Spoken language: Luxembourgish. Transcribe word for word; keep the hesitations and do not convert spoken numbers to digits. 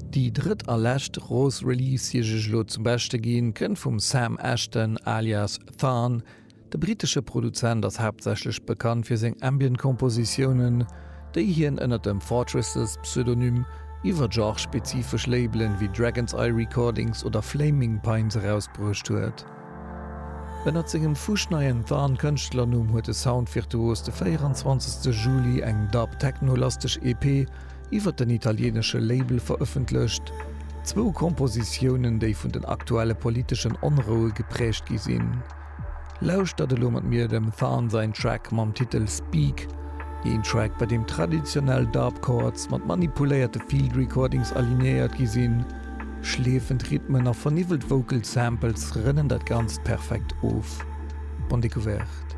Déi drëtt a lescht grouss Release, déi ech iech elo zum Beschte ginn, kënnt vum Sam Ashton alias Tharn. De brittesche Produzent ass haaptsächlech bekannt fir seng Ambient-Kompositiounen, déi hien ënner dem Fortresses Pseudonym iwwer genre-spezifesch Labelen wéi Dragon's Eye Recordings oder Flaming Pines erausbruecht huet. Ënnert sengem fuschneien Tharn-Kënschtlernumm huet de Sound-Virtuos de véieranzwanzegste Juli eng Dub-Techno-lasteg E P iwwer den italieenesche Label verëffentlecht. Zwou Kompositiounen, déi vun den aktuelle politeschen Onroue gepräägt gi sinn. Lauschtert elo mat mir dem Tharn säin Track mam Titel Speak, een Track, bei deem traditionell Dub Chords mat manipuléierte Field Recordings alignéiert gi sinn. Schleefend Rhythmen a verniwwelt Vocal Samples rënnen dat Ganzt perfekt of. Bonne découverte.